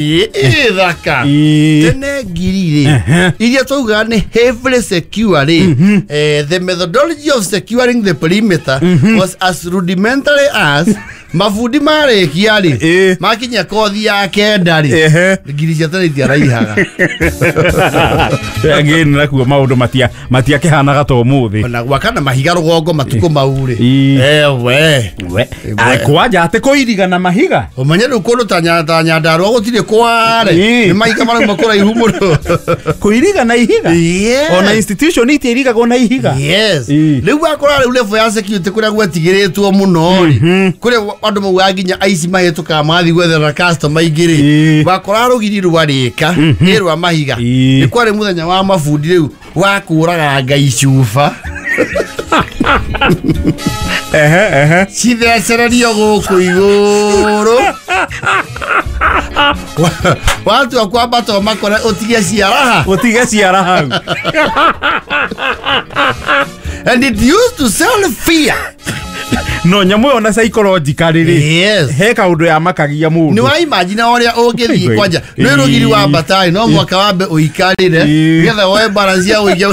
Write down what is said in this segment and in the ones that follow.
Ithaka tene ngiri rĩ iria twaugaga nĩ heavily secure rĩ, the methodology of securing the perimeter was as rudimentary as mabundi marĩkia rĩ, makinya kothi ya 9 rĩ, ngiri cia tene itiaraihaga. Again nakuo maũndũ matiakĩhanaga ta ũmũthĩ. Ona gwaka na mahiga rũgongo matukũ mau rĩ, ewe kwanja atĩ kũiriga na mahiga. Ũmenye rĩu kũndũ ta Nyandarũa gũtirĩ kware, nĩ mahiga marauma kũraihu mũno. Kũiriga na ihiga. Ona institution itiirigagwo na ihiga. Yes. Rĩu wakora rĩu level ya security kũrĩa gwetigĩrĩtwo mũno rĩ, kũrĩa andũ maugaga nginya aici mahĩtũkaga magathiĩ gwetherera customer ingĩ rĩ, wakora rũgiri rwarĩka nĩ rwa mahiga. Nĩ kwarĩ mũthenya wa mabundi rĩu wa kũũraganga icuba cithecererio gũkũ igũrũ, watua kwambata ũmakore ũtige ciaraha, ũtige ciara hau. And it used to sell fear. No nyamũ ĩyo na psychologically rĩ, yes, he kaũndũ yamakagia mũndũ. Nĩ wa imagine ũrĩa ũngĩthiĩ kwanja nĩ rũgiri wambatarĩ no mwaka wambe ũikarĩre nĩgetha woe balance ya ũige.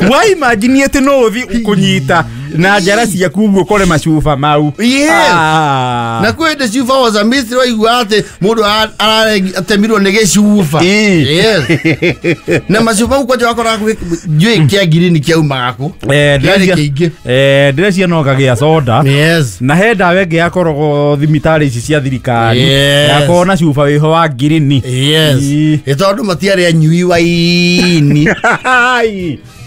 Wa imagine atĩ no ũthiĩ kũnyita na njara ciaku ũguo ũkore macuba mau. Yes. Na kwĩ hĩndĩ cuba was a mystery, waigua atĩ mũndũ atemirwo nĩ gĩcuba. Yes. Na macuba mau kwanja wakoraga njũĩ kĩa ngirini kĩaumaga kũ? Kĩarĩ kĩingĩ. Ndĩreciria no kagĩa soda. Yes. Na he ndawa ĩngĩ yakoragwo thibitarĩ ici cia thirikari. Yakoragwo na cuba wĩho wa ngirini. Yes. Ĩ tondũ matiarĩ anyui waini.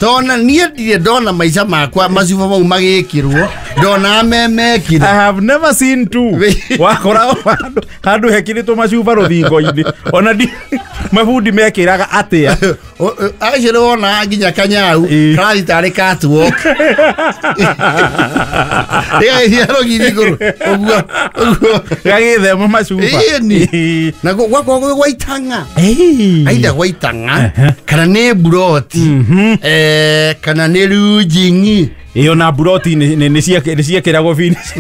Tona niĩ ndirĩ ndona maica makwa macuba mau magĩkĩrwo, ndona memekire. I have never seen two. Wakora handũ hekĩrĩtwo macuba rũthingo-inĩ. Ona mabundi mekĩraga atĩa? Acio nĩ wonaga nginya kanyau karathiĩ tarĩ catwalk. Gagĩthiĩ rũgiri igũrũ ũguo ũguo. Gagĩthema macuba. Ĩni. Na gwakoragwo gwĩ gwa itang'a. Aitha gwa itang'a kana nĩ mburoti, kana nĩ rujing'i. Ĩyo na mburoti nĩ ciekĩragwo finish.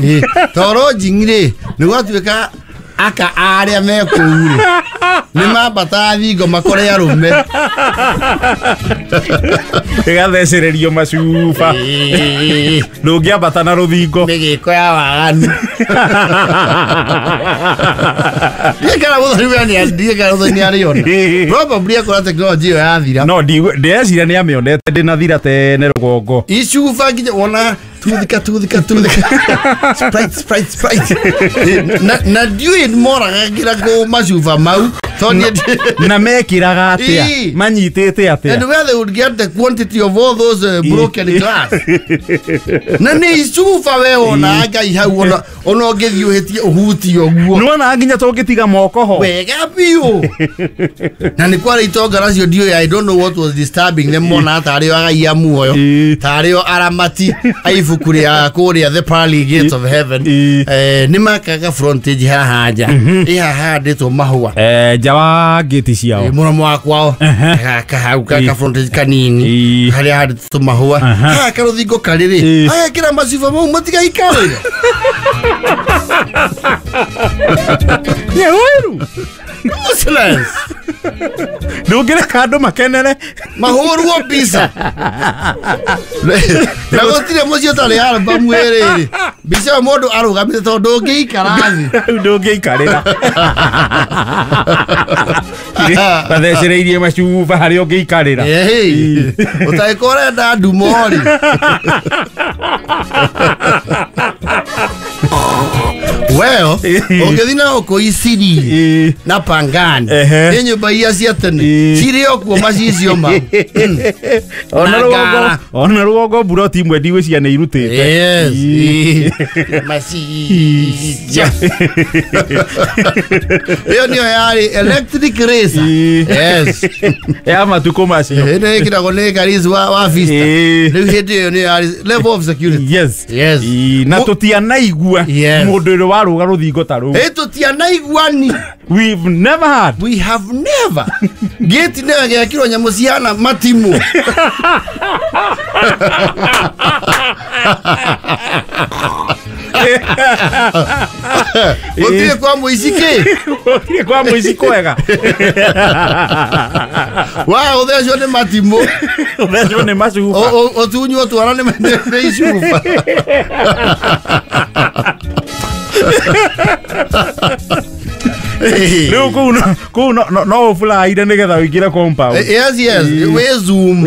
To rujing'i rĩ, nĩ gwatuĩka aka arĩa me kũu rĩ, nĩ mambataga thingo makore arũme. Ĩgathecererio macuba. Ndũngĩambata na rũthingo. Mĩgĩko ya waganu. Ndiĩ kana Mũthoni we ndiĩ kana Mũthoni nĩ arĩona. Probably akora tekinoronjĩ ĩyo yathira. No ndĩreciria nĩ amĩonete ndĩnathira tene rũgongo. Icuba nginya wona tuthika tuthika tuthika. Sprite sprite sprite. Na ndiũĩ moragagĩra kũ macuba mau. Na mekĩraga atĩa? Manyitĩte atĩa? And where they would get the quantity of all those broken glass. Na nĩ icuba we wona Ngai hau ona ũngĩthiĩ ũhĩtie ũhutie ũguo. Nĩwona nginya tũngĩtiga moko ho. Wega biũ. Na nĩ kwarĩ itonga nacio ndiũĩ, I don't know what was disturbing them, mona tarĩ o agai a muoyo, tarĩ o aramati a ibuku rĩa kũrĩa the pearly gates of heaven. Nĩ makaga frontage haha nja. Ĩ haha handĩtwo mahũa. Nja wa ngĩti ciao. Mũromo wa kwao. Kahau ka frontage kanini harĩa handĩtwo mahũa. Haha karũthingo karĩ rĩ, agekĩra macuba mau matigaikarĩre. Nyeweru. Useless. Ndũngĩreka andũ makenere. Mahũrwo mbica. Na gũtirĩ mũciĩ ũtarĩ album ĩrĩ. Mbica ĩyo mũndũ arũgamĩte tondũ ndũngĩikara thĩ. Ndũngĩikarĩra. Mathecereirie macuba harĩa ũngĩikarĩra. Ũtangĩkorwo ũrenda ndumo rĩ. Well, ũngĩthiĩ na gũkũ Isiri na Pangani, nĩ nyũmba iria cia tene cirĩ o kuo macicio mau. Ona rũgongo mburoti imwe ndigwĩciria nĩ irutĩte. Yes. Macicio. Ĩyo nĩyo yarĩ electric razor. Yes. Ya matukũ macio. Ĩno ĩkĩragwo nĩ Karis wa Vista. Rĩu hĩndĩ ĩyo nĩyo yarĩ level of security. Yes. Yes. Na tũtianaigua mũndũ ũrĩa warũga rũthingo ta rũu. Ĩ tũtianaiguani. We've never had. We have never. Gate nĩyo ĩgekĩrwo nyamũ cihana matimũ. Gũtirĩ kwa mũici kĩ? Gũtirĩ kwa mũici kwega. Wa ũthecwo nĩ matimũ. Ũthecwo nĩ macuba. Ũtunywo twara nĩ icuba. Rĩu kũu no ũburaire nĩgetha ũingĩre compound. Yes, yes, wĩ Zoom.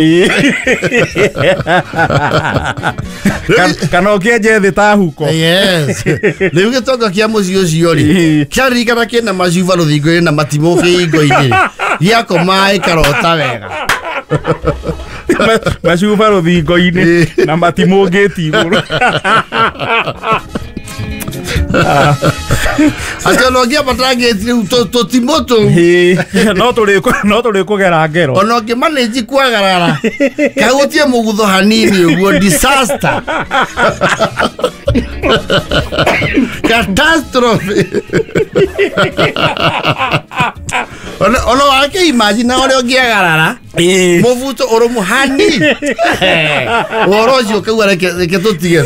Kana ũkĩenje thĩ ta huko. Yes. Rĩu gĩtonga kĩa mũciĩ ũcio rĩ, kĩaririkana kĩna macuba rũthingo-inĩ na matimũ kĩhingo-inĩ rĩ, gĩakoma ĩkarota wega. Macuba rũthingo-inĩ na matimũ ngĩti igũrũ. Atĩ ona ũngĩambata ngĩti rĩu tũtimũ tũu. No tũrĩkũgera ngero. Ona ũngĩmanĩnji kwagarara kahutie mũgutho hanini ũguo, disaster. Catastrophe. Ona wake imagine ũrĩa ũngĩagarara mũbuto ũrũmũ hanini. Ũhoro ũcio ũkauga reke tũtige.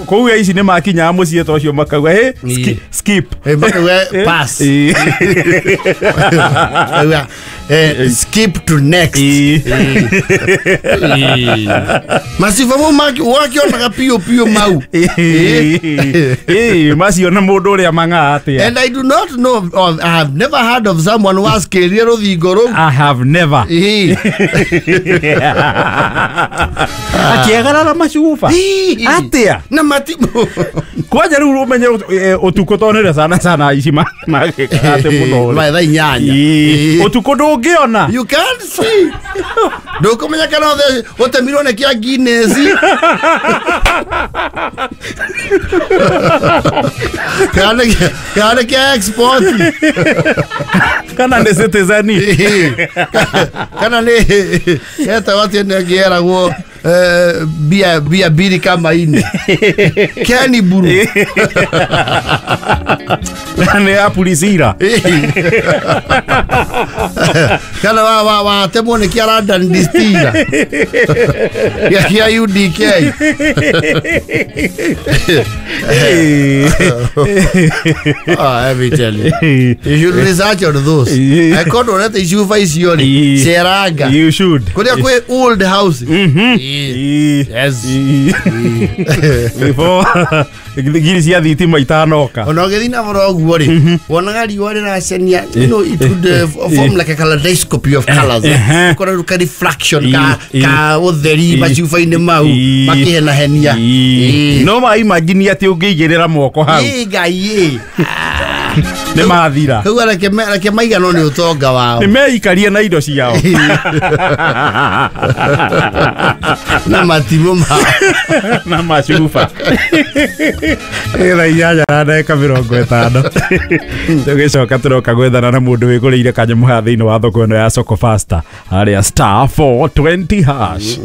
Kũu ici nĩ makinyaga mũciĩ ta ũcio makauga hey, skip. Makauga pass. Makauga skip to next. Maciba mau wakĩonaga piũ piũ mau. Macio na mũndũ ũrĩa mang'aa atĩa. And I do not know, I have never heard of someone who has kĩrire rũthingo rũu. I have never. Akĩagarara macuba. Atĩa? Na matimũ. Kwanja rĩu ũmenye ũtukũ tondũ nĩrĩo sana sana ici magĩkaga atĩ mũno. Mathaa 8. Ũtukũ ndũngĩona. You can't see. Ndũkũmenya kana ũtemirwo nĩ kĩa Guinness. Kana nĩ kĩa export. Kana nĩ Citizen. Kana nĩ etagwo atĩ nĩ ĩngĩ yeragwo bia mbiri kama ine. Kenny Buru. Nĩ ya Pulizira. Kana watemwo nĩ kĩa London Distiller. Kĩa UDK. Let me tell you. You should research on those. I can't orete icuba icio rĩ. Ceranga. You should. Kũrĩa kwĩ old house. Yes. Before ngiri cia thitima itanoka. Ona ũgĩthiĩ na boro ũguo rĩ, wonaga riũa rĩracenia, you know, it would form like a kaleidoscope of colors. Ũkona rĩu ka refraction ka ũtheri macuba-inĩ mau makĩhenahenia. No ma imagine atĩ ũngĩigĩrĩra moko hau. Ngai. Nĩ mathira. Kau reke maiganwo nĩ ũtonga wao. Nĩ meikarie na indo ciao. Na matimũ mao. Na macuba. 8:50. Tũgĩcoka tũroka gwethana na mũndũ wĩgũrĩire kanyamũ haha thĩinĩ wa thoko ĩno ya Soko Faster harĩa *420#.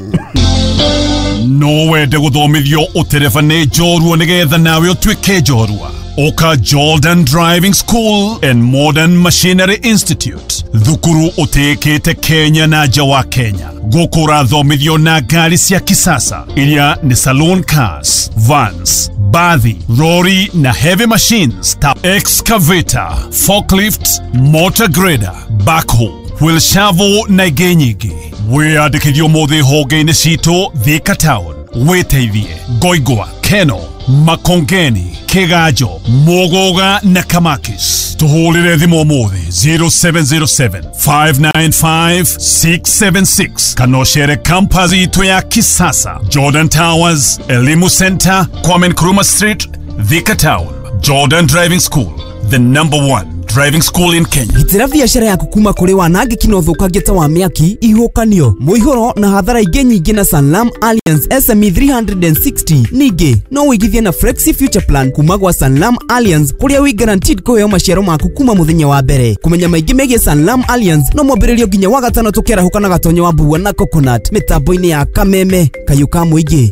No wende gũthomithio ũtereba nĩ njorua nĩgetha nawe ũtuĩke njorua. Oka Jordan Driving School and Modern Machinery Institute. Thukuru ũtĩkĩte Kenya na nja wa Kenya. Gũkũ ũrathomithio na ngari cia kisasa iria nĩ saloon cars, vans, bathi, lorry na heavy machines ta excavator, forklift, motor grader, backhoe, wheel shovel na ingĩ nyingĩ. Wĩyandĩkithio ũmũthĩ honge-inĩ citũ Thika Town, wĩteithie Ngoingwa, Keno, Makongeni, Kigajo, Muguga na Kamakis. Tuhũrĩre thimũ ũmũthĩ 0707 595 676 kana ũcere campus itũ ya kisasa, Jordan Towers, Elimu Center, Kwame Nkrumah Street, Thika Town. Jordan Driving School, the number one driving school in Kenya. Gitĩra biacara yaku kuma kũrĩ wanangĩki na ũthũkangia ta wa mĩaki, ihuhũkanio, mũihũro na hathara ingĩ nyingĩ na Sanlam Alliance SME 360. Ningĩ no wĩigithie na Flexi Future Plan kuma gwa Sanlam Alliance kũrĩa wĩ guaranteed kũheo maciaro maku kuma mũthenya wa mbere. Kũmenya maingĩ megiĩ Sanlam Alliance no mwambĩrĩrio nginya wa gatano tũkĩarahũka na gatonyo wa mbua na coconut mĩtambo-inĩ ya Kameme kayũ ka mũingĩ.